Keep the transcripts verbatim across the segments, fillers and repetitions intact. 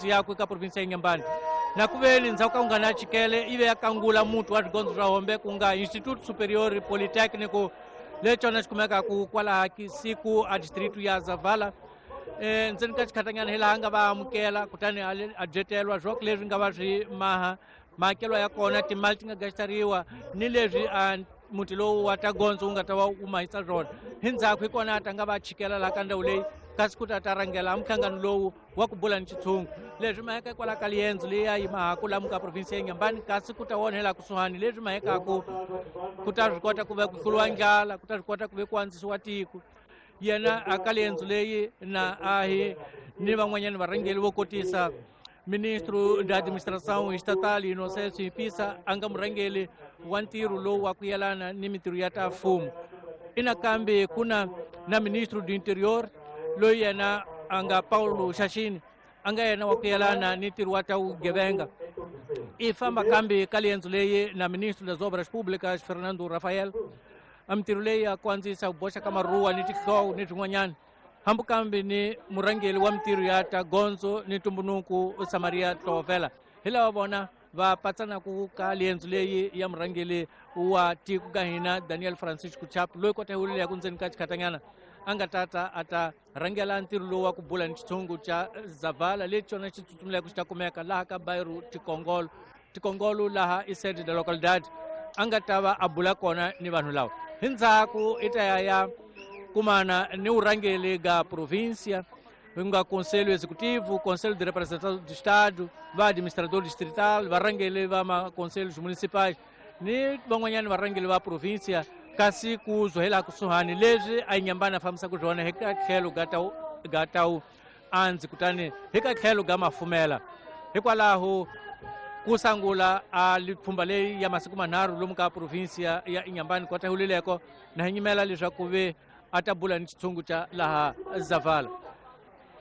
Yakwe ka provinsi ya Inhambane na ku veni ndzhaku ka ku nga na chikele ivi ya kangula muti wa swigondzo swa hombe ku nga Instituto Superior Politécnico lexona xi kumekaku kwalaha siku a district ya Zavala. Eh ndzeni ka xikhatanyana hi laha nga va amukela kutani a dyetelwa swoko leswi nga va swi maha mahakelwa ya kona timali ti nga gastariwa ni leswi a muti lowu wa ta gondzo wu nga ta va wu mahisa swona. Hi ndzhaku hi kona a ta nga va chikela laha ka ndhawu leyi kasi ku ta ta rhangela mhlangano lowu wa ku bula ni xitshungu leswi maheka kwala ka liendzo leyi ya yimahaku lamu ka provinsi ya Inhambane kasi ku ta onhela kusuhani leswi mahekaku ku ta swi kota ku va ku hluriwa ndlala ku ta swi kota ku ve ku andzisiwa tiko. Yena a ka liendzo leyi na a hi ni van'wanyana varhangeli vo kotisa ministro da administração estatal Inocêncio Impissa a nga murhangeli wa ntirho lowu wa ku yelana ni mintirho ya ta mfumo. Inakambe ku na na ministro do interior loyi yena a nga Paulo Xaxini a nga yena wa ku yelana ni ntirho wa ta vugevenga. I famba kambe ka liendzo leyi na ministro das obras públicas Fernando Rafael a mintirho leyi ya ku andzisa ku boxa ka maruwa ni tinhloko ni swin'wanyana hambi kambe ni murhangeri wa mintirho ya ta gondzo ni ntumbunuku Samaria Tlovela. Hi lava vona va patsanaku ka liendzo leyi ya murhangeri wa tiko ka hina Daniel Francisco Chapo loyi kota hi ku ndzeni ka xikhatanyana a nga tata a ta rhangela ntirho lowu wa ku bula ni xitshungu xa Zavala lexi xona xi tsutsumileke xi ta kumeka laha ka Bairro Tikongolo Tikongolo laha i sede da localidade a nga ta va a bula kona ni vanhu lava. Hi ndzhaku i ta ya ya kumana ni vurhangeri ga província nga Conselho Executivo, Conselho de Representação do Estado, va administrador distrital, varhangeri va maconselhos municipais ni van'wanyana varhangeri va província kasi ku zohela kusuhani leswi a Inhambane a fambisaka swona hi ka tlhelo ga ta ga ta andzi kutani hi ka tlhelo ga mafumela. Hikwalaho ku sangula a lipfhumba leyi ya masiku manharhu lomu ka provinsia ya Inhambane kota hulileko na hi nyimela leswaku ve a ta bula ni xitshungu xa laha Zavala.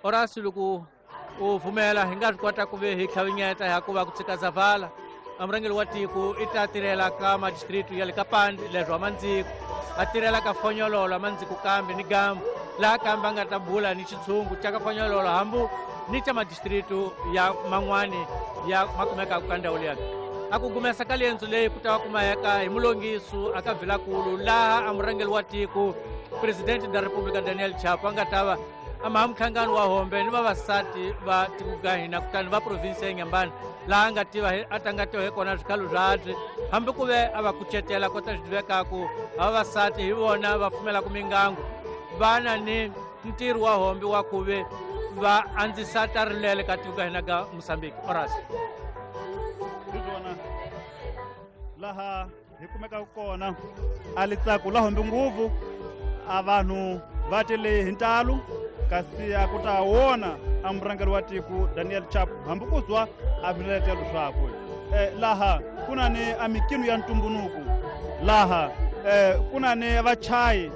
Horácio loko u pfumela hi nga swi kota ku ve hi tlhavinyeta hikuva ku tshika Zavala a murhangeri wa tiko i ta tirhela ka madistritu ya le ka Pandi leswi wa Mandziko a tirhela ka Fonyololo a Mandziko kambe ni Gambo laha kambe a nga ta bula ni xitshungu xa ka Fonyololo hambu ni xa madistritu ya man'wani ya ma kumekaka ka ndhawu liya. A ku gumesa ka liendzo leyi ku ta va kumeka hi mulongiso a ka Vilakulu laha a murhangeri wa tiko Presidente da República Daniel Chapo a nga ta va a maha mhlangano wa hombe ni vavasati va tiko ka hina kutani va provinsi ya Inhambane laha nga tiva a ta nga tiva hi kona swikhalo swabye hambi ku ve a va kucetela kota swi tivekaku vavasati hi vona va pfumelaka mingangu va na ni ntirho wa hombe wa ku ve va andzisa ta rilele ka tiko ka hina ka Mozambique. Horácio hi swona laha hi kumekaka kona a litsako la hombe ngopfu a vanhu va tele hi ntalo kasi a ku ta wona a murhangeri wa tiko Daniel Chapo hambi ku zwa a viletelo swakwe. Eh, laha ku na ni a mikino ya ntumbunuku laha eh, ku na ni vachayi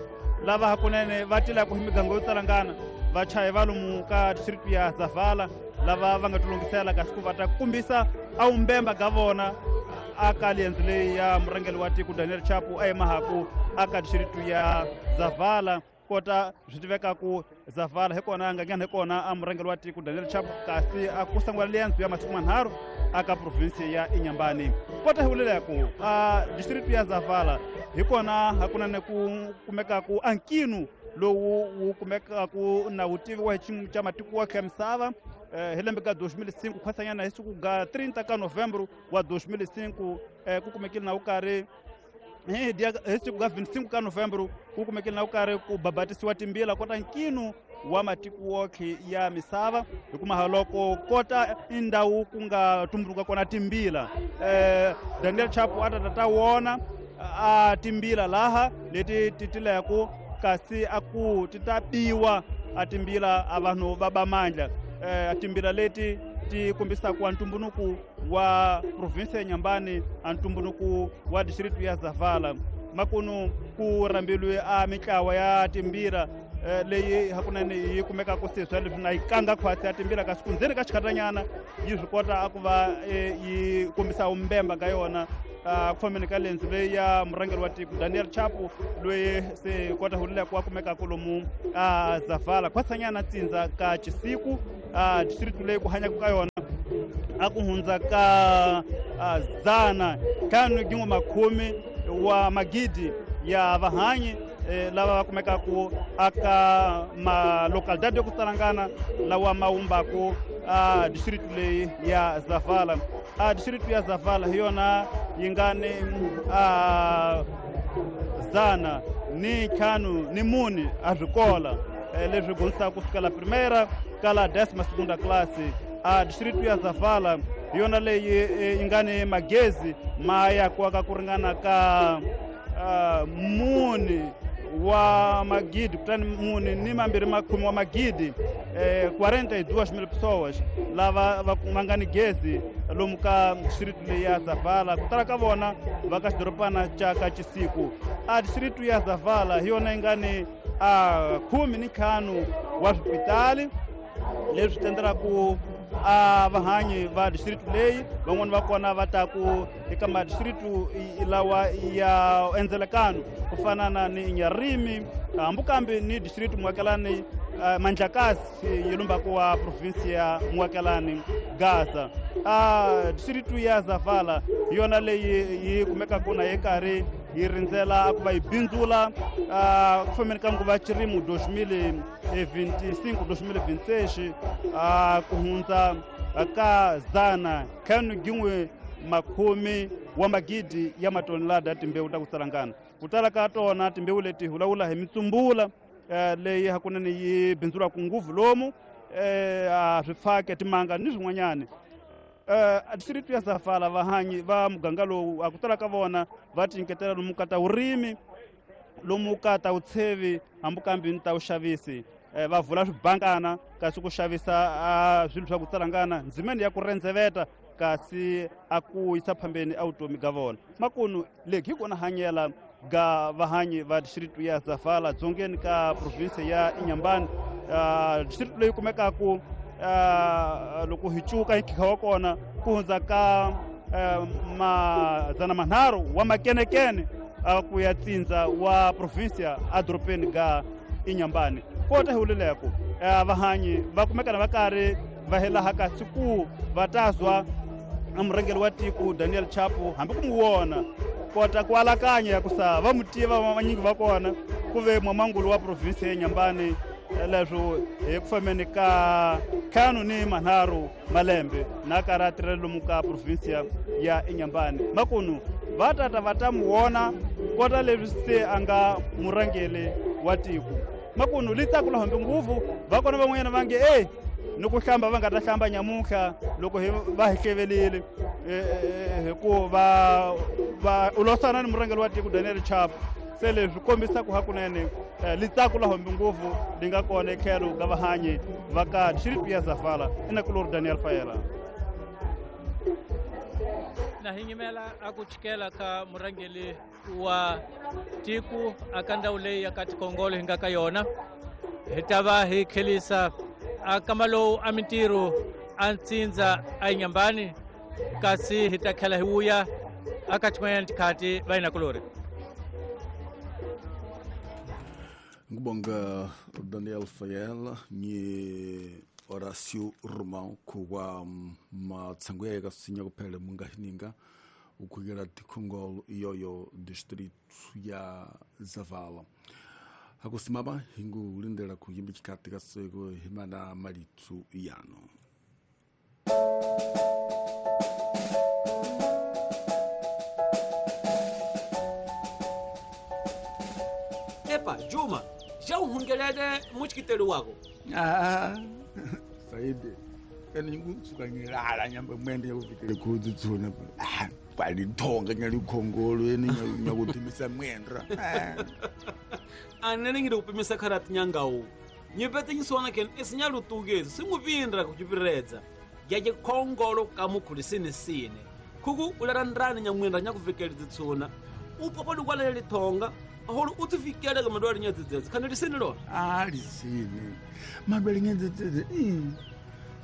lava hakunene va tilaka hi miganga yo talangana vachayi va lomu ka district ya Zavala lava va nga tilungisela kasi ku va ta kumbisa a wumbemba ka vona a ka liendzo leyi ya murhangeri wa tiko Daniel Chapo a yimahaku a ka district ya Zavala kota swi tivekaku Zavala hi kona a nga nghena hi kona a murhangeri wa tiko Daniel Chapo kasi a ku sungula liendzo ya masiku manharhu a ka provinsi ya Inhambane. Kota hi vuleleku a district ya Zavala hi kona hakunene ku kumekaku a nkinu lowu wu kumekaku na vutivi wa xiyimo xa matiko wa ya misava eh, hi lembe ka dois mil e cinco khwasanyana hi siku ga trinta ka novembro wa dois mil e cinco eh, ku kumekile na wu karhi hi dia hi siku ga vinte e cinco ka novembro ku kumekile na wu karhi ku babatisiwa timbila kota nkinu wa matiko wokhe ya misava hikumaha loko kota i ndhawu ku nga tumbuluka kona timbila eh, Daniel Chapo a ta ta ta wona a timbila laha leti ti tileko kasi a ku ti ta biwa a timbila a vanhu va ba mandla eh, a timbila leti ti kombisaka a ntumbunuku wa provinsi ya Inhambane a ntumbunuku wa district ya Zavala. Makunu ku rhambiliwe a mitlawa ya timbila eh, leyi hakunene yi kumekaka se swa leswi na yi kanga khwatsi ya timbila kasi ku ndzeni ka xikhatanyana yi swi kota a ku va eh, yi kombisa vumbemba ka yona a ku fambeni ka lendzo leyi ya murhangeri wa tiko Daniel Chapo loyi se kota hulileko wa kumekaka lomu a Zavala khwasanyana tsindza ka Chisiku a district leyi ku hanyaka ka yona a ku hundza ka zana ntlhanu gin'we makhume wa magidi ya vahanyi lava va kumekaku aka malocalidade yo ku tsalangana lawa ma wumbaku a district leyi ya Zavala. A district ya Zavala hi yona yi nga ni a zana ni ntlhanu ni mune a swikola leswi dyondzisaka kusukela primeira kala décima segunda classe. A district ya Zavala hi yona leyi yi nga ni magezi ma yakiwaka ku ringana ka mune wa magidi kutani mune ni mambirhi makhume wa magidi eh, quarenta e duas mil pessoas lava va nga ni gezi lomu ka district leyi ya Zavala. Ku tala ka vona va ka xidorobana xa ka Chisiku. A district ya Zavala hi yona yi nga ni a khume ni ntlhanu wa swipitali leswi tendelaku a vahanyi va district leyi. Van'wani va kona va ta ku eka madistrict lawa ya endzelekano ku fana na ni Nyarimi hambi kambe ni district Muakelani Mandlakazi yi lumbaku wa province ya Muakelani Gaza. A district ya Zavala hi yona leyi yi kumekaka na yi karhi yi rindzela ku va yi bindzula ku fambeni ka nguva ya xirimo dois mil e vinte e cinco dois mil e vinte e seis ku hundza ka zana ntlhanu gin'we makhume wa magidi ya matonelada ya timbewu ta ku tsalangana. Ku tala ka tona timbewu leti hi vulavula hi mitsumbula leyi hakunene yi bindzulaka nguvu lomu a swifake timanga ni swin'wanyani. Uh, district ya Zavala vahanyi va muganga lowu a ku tala ka vona va tinyiketela lomu ka ta vurimi lomu ka ta vutshevi hambi kambe ni ta vuxavisi. Eh, va vula swibankana kasi ku xavisa swilo swa ku tsalangana ndzimeni ya ku rendzeveta kasi a ku yisa phambeni a vutomi ga vona. Makunu leki hi kona hanyela ga vahanyi va district ya Zavala dzongeni ka province ya Inhambane. Uh, district leyi kumekaku Uh, loko hi cuka hi nkhinkha wa kona ku hundza ka uh, madzana manharhu wa makenekene uh, ku ya tsindza wa provinsia edorobeni ga Inhambane. Kota hi vuleleko uh, vahanyi va kumekana va karhi va helaha kasi ku va ta zwa murhangeri wa tiko Daniel Chapo hambi ku n'wi vona kota ku alakanya ku sa va mu tiva vanyingi va kona ku ve mwamangulu wa provinsia ya Inhambane leswo hi ku fambeni ka ntlhanu ni manharhu malembe na karhi a tirhela lomu ka provinsia ya Inhambane. Makunu va tata va ta mu vona kota leswi se a nga murhangeri wa tiko. Makunu li tsakula hambi nguvu va kona van'wanyana va nge e ni ku hlamba va nga ta hlamba nyamuntlha loko hi va hi hlevelile hikuva va u losana ni murhangeri wa tiko Daniel Chapo. Se leswi kombisaka hakunene litsako la hombi nguvu li nga kona etlhelo ka vahanyi va ka district ya Zavala. Inakulori Daniel Fayela. Na hi nyimela a ku chikela ka murhangeri wa tiko aka ndhawu leyi ya ka Tikongolo hi nga ka yona. Hi ta va hi khelisa a kama lowu a mintirho a ntsindza a Inhambane kasi hi ta tlhela hi vuya aka tin'wanyana tikhathi va inakulori. Ngibonga Daniel Fayela ni Horácio Romão kuwa matsango ya kasinya kuphela mungahininga ukhukela Tikongolo iyoyo distrito ya Zavala. Hakusimama hingu lindela kuyimbi chikati kaseko himana malitsu yano. Epa, Juma, já uhungelele muchikitelo wako. Ah, Saide. Ene ngutsuka ngilala nyamba mwende yakuvikele khudzi tsuna. Ah, kwalithonga nyalikhongolo ene nyakuthimisa mwendra. Anene ngire kupimisa kharati nyangawo. Nyipete nyiswana ken esinyalutukezi singupindra kuchipiredza. Yaje khongolo kamukhulisini sine. Khuku ularandrani nyamwendra nyakuvikele tsuna. Upopo lukwalele lithonga. Aholo utifikele ka madwali nyadzedzedze khane lisini lona. Ah, lisini. Madwali nyadzedzedze.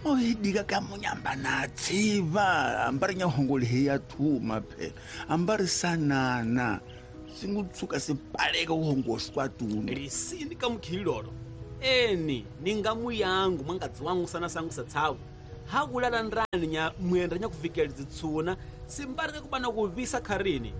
Moidika kamunyamba na tsiva ambari nyahongole heya thuma phela ambari sanana singutsuka sipaleka uhongoswa tunu lisini kamukhilolo eni ningamu yangu mwangadzi wangu sana sangu satsawu Hakulala nrani nya mwenda nya kuvikela dzitsuna simbarike kubana kuvisa kharini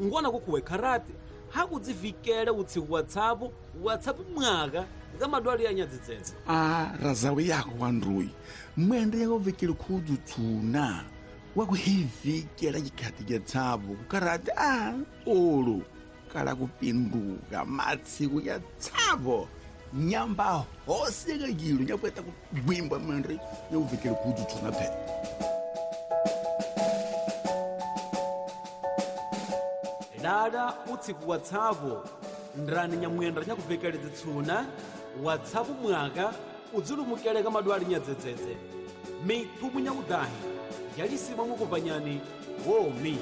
ngona kukhuwe kharati hakudzivikele utsiku WhatsApp WhatsApp mwaka nga madwali ya nyadzitsetse a razawe yako wanruyi mwenda yakuvikela khudutsuna wakuhivikela chikhati cha tsapo kukharati a olu kala kupinduka matsiku ya tsapo nyamba hose kakilo nyakweta kugwimba mwenda yakuvikela khudutsuna phela. Lala utsiku WhatsApp ndrani nyamwenda nyakuvekele dzitsuna WhatsApp mwaka udzilumukele ka madwali nyadzedzedze mithumu nyakudahi yalisima mukupanyani womi.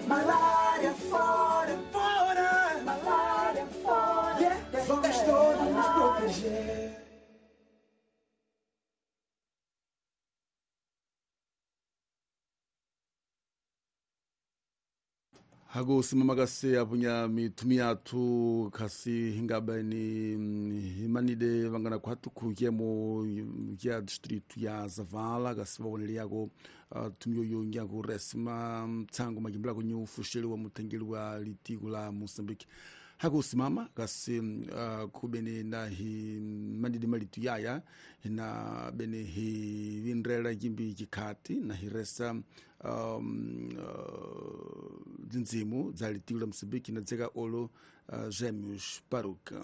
Malaria fora, fora, malaria fora, yeah, vamos todos nos proteger. Hago simamagase apunya mitumi yathu khasi hingabeni himanide vangana khwatu khuyemo ya distrito ya Zavala kasi vawonele yako uh, tumyo yo nyaku resima tsango majimbula kunyu fusheli wa mutengeli wa litiko la Mozambique. Hago simama kasi uh, kubene na himanide malitu yaya na bene hi vindrela jimbi jikhati na hiresa um, uh, dzindzimu dza litiko la Mozambique na dzeka olo uh, Gêmeos Paruca.